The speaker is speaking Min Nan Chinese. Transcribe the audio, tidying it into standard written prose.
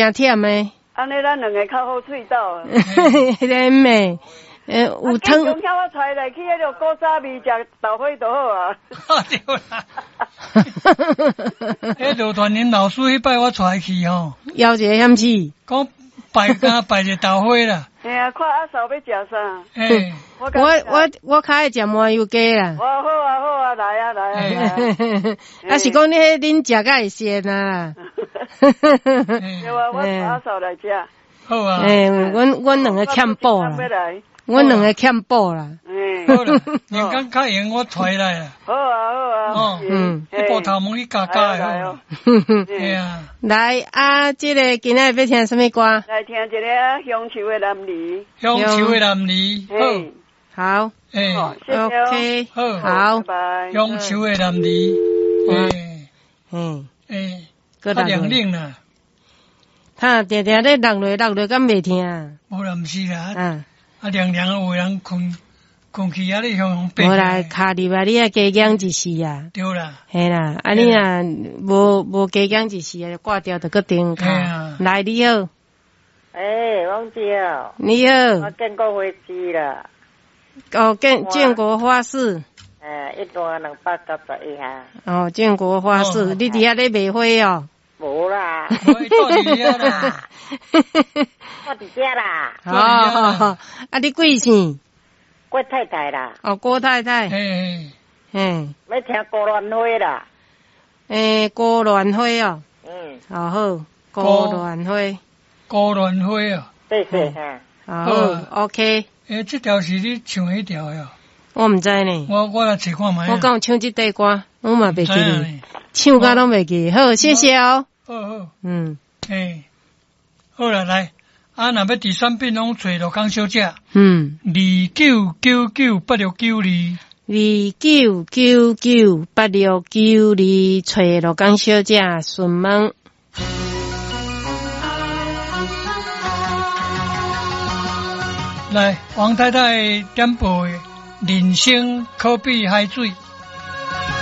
誠忝的。按呢咱兩个較好喙斗。彼个咩？有湯。我帶來去彼个古早味食豆花就好啊。對啦。彼羅傳林老師彼擺我帶去吼。枵一个險死。講拜敢拜一个豆花啦。嘿啊，看阿嫂欲食啥？欸，我較愛食麻油雞啦。哦，好啊，好啊，來啊，來啊，來啊。啊是講你彼恁食較會鮮啊。對啊，我阿嫂來食。好啊。欸，阮兩个欠補啦。阮兩个欠補啦。好啦，人工較閒我帶來啦。好啊，好啊。哦，嗯，你部頭毛去加加的好。對啊。來啊，這个今仔日欲聽啥物歌？來聽一个鄉愁的男兒。鄉愁的男兒，好。好。欸，OK，好，好。鄉愁的男兒，欸，嗯，欸，較涼冷啦。他定定咧落落落落，敢袂聽？無啦，毋是啦。嗯。啊，涼涼有人睏睏去啊，你向向爬。無啦，跤入來你愛加減一時啊。對啦。嘿啦，啊你若無加減一時啊，就掛掉就閣重敲。來，你好。欸，王姐。你好。我建國花市啦。哦，建國花市。欸，10291下。哦，建國花市，你佇遐咧賣花哦？無啦。我佇遐啦。我佇遮啦。哦，啊，你貴姓？郭太太啦。哦，郭太太。嘿。嘿。欲聽孤蘭花啦。欸，孤蘭花哦。嗯。哦好，孤蘭花。孤蘭花哦。對對哈。好，OK。欸，這條是你唱彼條的哦？我毋知呢。我來揣看覓。我敢有唱這塊歌，我嘛袂記哩，唱甲攏袂記。好，謝謝哦。好好。嗯。欸，好啦，來，啊，若欲佇產品攏揣羅江小姐。嗯。29998692。 29998692，揣羅江小姐詢問。來，王太太點播的人生可比海水。